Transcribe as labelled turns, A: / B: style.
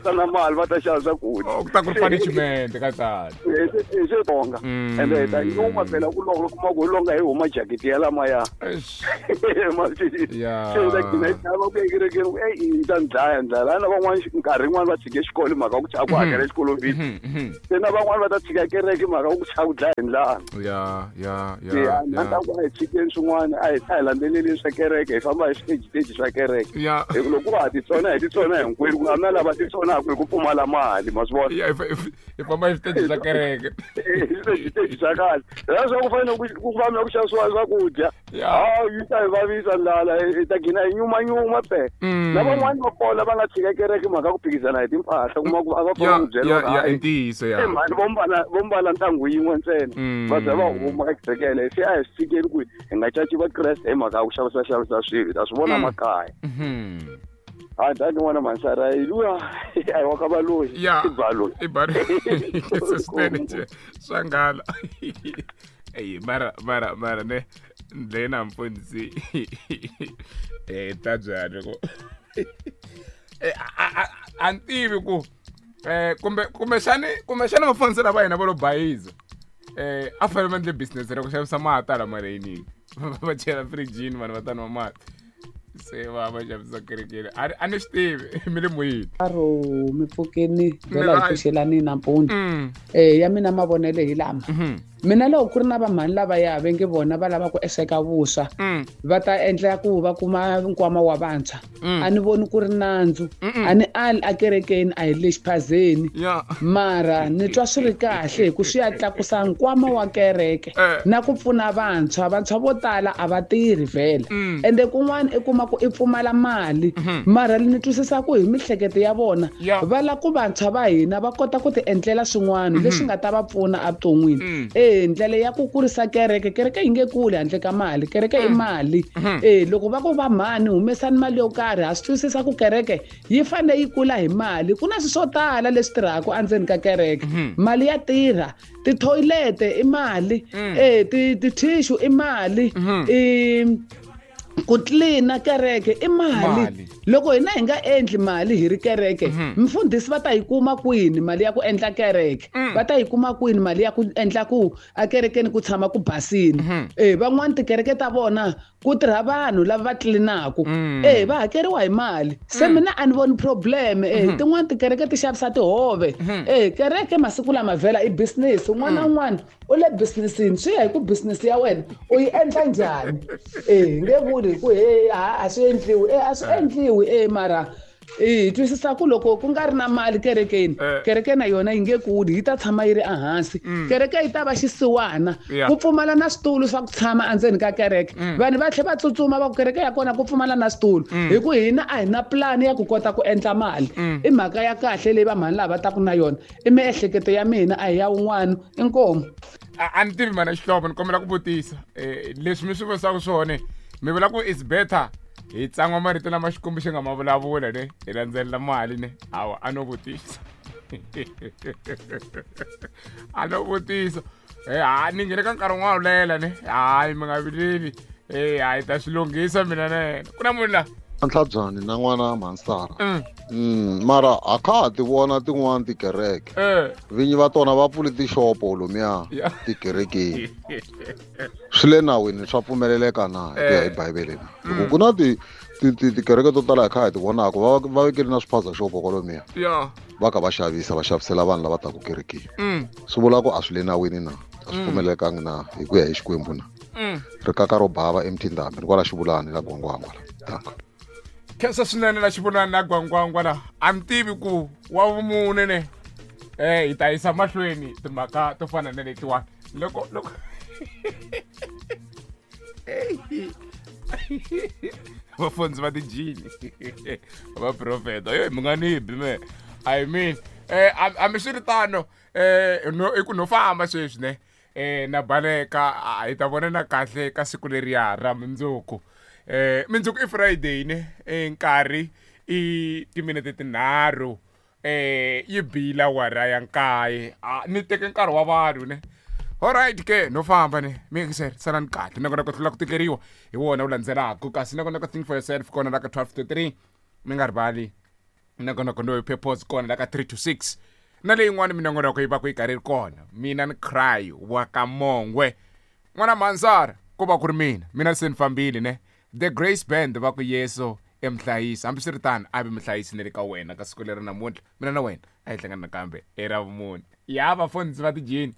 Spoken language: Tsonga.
A: Ta na mali va ta xava swakudya.
B: Oh, ku ta ku ri punishment ka tani.
A: Hi Xitsonga. Ende hi ta nyuma phela ku loko kuma ku hi longa hi huma jaketi ya lamaya.
B: Eish.
A: Yeah. Se hi ta gcina hi chava ku ekerekeni ku eyi yi ta ni dlaya ndlala. Na van'wani nkarhi yin'wani va tshike xikolo hi mhaka ku chava ku hakela xikolo fees. Se na van'wani va ta tshika kereke hi mhaka ku chava ku dlaya hi ndlala.
B: Ya ya ya.
A: Ya, na ta ku a hi tshikeni swin'wana a hi landzeleli swa kereke hi famba hi switeji swa kereke.
B: Ya.
A: Hi ku loko wa ha titsona hi titsona hinkwenu ku nga na lava titsonaka hi ku pfumala mali ma swi vona.
B: Ya hi famba hi switeji swa kereke.
A: Hi switeji swa kahle. Leswaku ku fanele ku famba ku xavisiwa swakudya.
B: Ya.
A: Hawu yi ta hi vavisa ndlala hi ta gcina hi nyumanyuma phela. Na van'wani va kona va nga tshika kereke mhaka ku phikizana hi timpahla kuma ku a va
B: Ya
A: famba ku byela
B: ya ya i ntiyiso ya.
A: Mhani vo mbala ntangu yin'we ntsena va za va huma ekerekele se a hi swi tshikeni ku hi nga caci vakreste hi mhaka ya ku xavisa xavisa swilo hi ta swi vona makaya. A dani n'wana mansara hi luya a hi wa ka valoyi
B: Ya.
A: i baloyi.
B: I baloyi. Swinene nje swa nghala. Eyi mara mara mara ne ndlela mfundisi ta byani ku a ni tivi ku kumbe kumbexani kumbexani vafundhisi lava hina va lo bayiza a fanele va endle business ra ku xavisa mati hala mareyinini va chela firijini vanhu va ta nwa mati se va va xavisa kerekeni a ni swi tivi mi le moyeni.
C: Aro mi pfukeni vhela hi
B: Right.
C: pfuxelani nampundzu. Ya mina mavonelo hi lama. Mina loko ku ri na vamhani lavaya va nge vona va lava ku eseka vuswa va ta endla ku va kuma nkwama wa vantshwa. A ni voni ku ri nandzu. A ni ali akerekeni a hi le xiphazeni. Mara ni twa swi ri kahle hi ku swi ya tlakusa nkwama wa kereke na ku pfuna vantshwa. Vantshwa vo tala a va tirhi vhele. Ende kun'wana i kuma ku i pfumala mali. Mara ni twisisa ku hi mihleketo ya vona va lava ku vantshwa va hina va kota ku ti endlela swin'wana leswi nga ta va pfuna evuton'wini. Ndlela ya ku kurisa kereke, kereke yi nge kuli handle ka mali, kereke i mali. Loko va ku va mhani humesani mali yo karhi, ha swi twisisa ku kereke yi fanele yi kula hi mali. Ku na swilo swo tala leswi tirhaka endzeni ka kereke. Mali ya tirha, tithoyilete i mali, ti-tissue i mali, ku tlilina kereke i mali. Loko hina hi nga endli mali hi ri kereke, mfundhisi va ta yi kuma kwini mali ya ku endla kereke? Va ta yi kuma kwini mali ya ku endla ku akerekeni ku tshama ku basini? Van'wani tikereke ta vona ku tirha vanhu lava va tlilinaka. Va hakeriwa hi mali. Se mina a ni voni problem. Tin'wani tikereke ti xavisa tihove. Kereke masiku lama vhela i business. Un'wana na un'wana u le businessini, swi ya hi ku business ya wena u yi endla njhani. Nge vuli hi ku he a swi endliwi. A swi endliwi, mara hi twisisa ku loko ku nga ri na mali kerekeni, kereke na yona yi nge kuli, yi ta tshama yi ri ehansi. Kereke yi ta va xisiwana, ku pfumala na switulu swa ku tshama endzeni ka kereke. Vanhu va tlhela va tsutsuma va ku kereke ya kona ku pfumala na switulu, hi ku hina a hi na plan ya ku kota ku endla mali. I mhaka ya kahle leyi vamhani lava va taku na yona. I miehleketo ya mina, a hi ya wun'wana. Inkomu.
B: A ni tivi mana xihlovo, ni kombela ku vutisa. Leswi mi swi vutisaka swona, mi vula ku it's better hi tsan'wa marito lama Xikwembu xi nga ma vulavula ne, hi landzelela mali ne. Hawa, a no vutisa. A no vutisa. Ha, ni nghene ka nkarhi wun'wana wo lela ne. Hayi, mi nga vileli. Hayi, ta swi lunghisa mina na yena. Ku na munhu la?
D: Ntlhabyani na n'wana Mhansara. Mara a kha ha ti vona tin'wana tikereke. Vinyi va tona va pfule tixopo lomuya tikerekeni. Swi le nawini, swa pfumeleleka na hi ku ya hi Bibele na. Loko ku na tikereke to tala hi kha hi ti vonaka, va vekele na swiphaza xopo kwalomuya. Va kha va xavisa, va xavisela vanhu lava taka kerekeni. Swi vula ku a swi le nawini na, a swi pfumelekangi na hi ku ya hi Xikwembu na. Rikaka ro bava eMthindambe, ni kwala Xivulani la Gwangwangwa la. Danko.
B: Khensa swinene la Xivulani la Gwangwangwa la. A ni tivi ku wa vumune ne. Hi ta yisa mahlweni timhaka to fana na letiwani. Loko, loko vafundzi va tijini va profeta, yo mi nga ni bi me. I mean, a mi swi ri tano, no, i ku no famba sweswi ne. Na baleka, hi ta vonana kahle ka siku leriya ra mundzuku. Mundzuku i Friday ne, nkarhi i timinete tinharhu, yi bila awara ya nkaye. Ni teke nkarhi wa vanhu ne. Alright ke, no famba ne. Mi yingisela, salani kahle. Nakona ku hlula ku tikeriwa hi wona wu landzelaka. Kasi nakona ka Think for Yourself kona la ka 12 to 3, mi nga rivali. Nongonoko loyi purpose kona la ka 3 to 6 na leyin'wana minongonoko yi va ku yi karhi yi ri kona. Mina ni cry wa ka Mongwe. N'wana Mhansara ku va ku ri mina. Mina se ni fambile ne. The Grace Band va ku Yesu i muhlayisi. Hambiswiritano a vi muhlayisi ni le ka wena ka siku leri namuntlha. Mina na wena a hi hlangana nakambe era vumune. Ya vafundhisi va tijini.